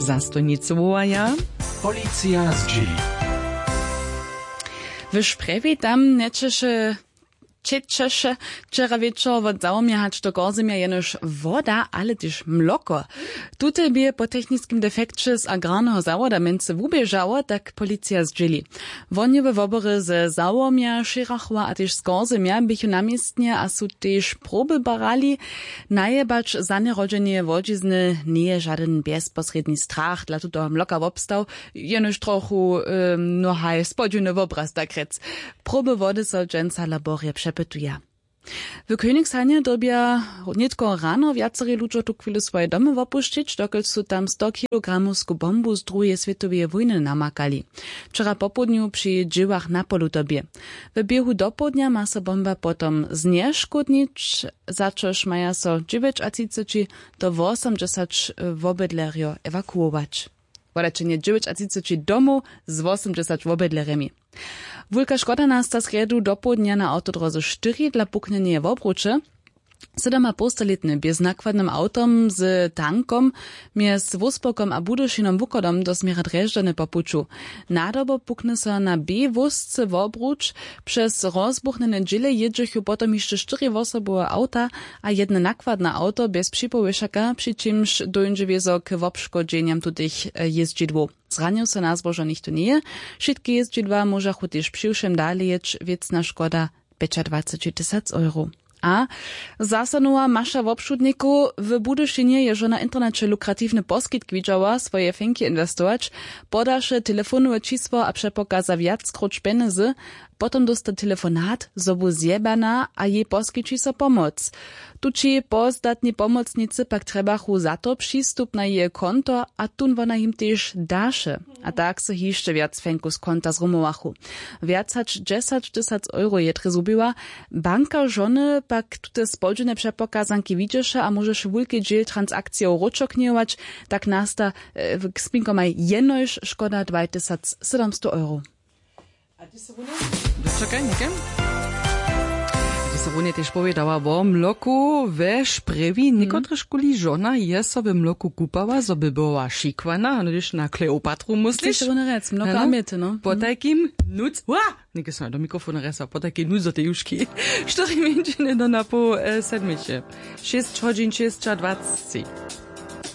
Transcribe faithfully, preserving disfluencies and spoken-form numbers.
Zastojnicy wołaja. Policija zdźěli. W Šprjewi tam njećeše, čećeše wčera wječor wot załomja hač do korzemja jenož woda, ale tež mloko. Tute bě po techniskim defekće z agrarneho zawoda mjency wuběžało, tak policija zdźěli. Woni we wobory ze załomja, šěrachowa a tež z korzemja běchu na městnje a su tež proby barali. Najebać zaněrodźeneje łodźizny njeje žadyn bjezposrědni strach dla tutoho mloka wobstał, jenož trochu mnohaj spodźiwny wobraz tak rjec. Proby wody so dźensa laborje přepytuja. W königsheimje dyrbja nětko rano wjaceri ludźo tuchwilu swoje domy wopušćić, dokelž su tam sto kilogramowsku bombu z druheje swětoweje wójny namakali. Wčera popołdnju při dźěłach na polutobje. W běhu dopołdnja ma so bomba potom znješkódnić, za čož maja so dźewjećatřiceći do wosomdźesać wobydlerjo ewakuować. Wodajće dźewjećatřiceći domow z wosomdźesać wobydlerjemi. Wulka škoda nasta srjedu dopołdnja na awtodróze štyri dla puknjeneje wobruće. Sydomapołstalětny bě z nakładnym awtom z tankom mjez wóspołkom a budyšinom wuchodom do směra drježdźany po puću. Nadobo pukny so na b wósce wobruć. Přez rozbuchnjene dźěle jědźechu potom hišće štyri wosobowe awta a jedne nakładne awto bjez připołwěšaka, při čimž dóńdźe wězo k wobškodźenjam tutych jězdźidłow. Zranił so na zbožo nichtó njeje. Wšitke jězdźidła móžachu tež přiwšěm dale jěć. Wěcna škoda pjećadwaceći tysac euro. A zaso nowa maša wobšudnikow w budyšinje je žona w interneće lukratiwny poskitk widźała swoje fenki inwestować. Podaše telefonowe čisło a přepokaza wjackróć pjenjezy. Potom dósta telefonat zo bu zjebana a jej poskići so pomoc. Tući pozdatni pomocnicy pak trjebachu za to přistupna jeje konto a tón wona jim tež daše. A tak so hišće wjac fenku z konta zrumowachu. Wjac hač dźesać tysac euro je drje zhubiła. Banka žony pak tute spodźiwne přepokazanki widźeše a móžeše wulki dźěl transakcijow wróćoknjejować. Tak nasta k spinkomaj jenož škoda dwaj tysac sydomstow euro. A ty se runje dočekaj něke ty se runje tež powědała wo mloku we šprjewi někotrežkuli žona je so we mloku kupała zo by była šikwana a hdyž na kleopatru mysliš? Runje rec mloko a mjety no. Potajkim nuc wa něke so do mikrofona resa potajki nuc do tej juški. Štyri mjeńšiny do na poł sedmiće. Šěsć hodźin šěsćadwacci.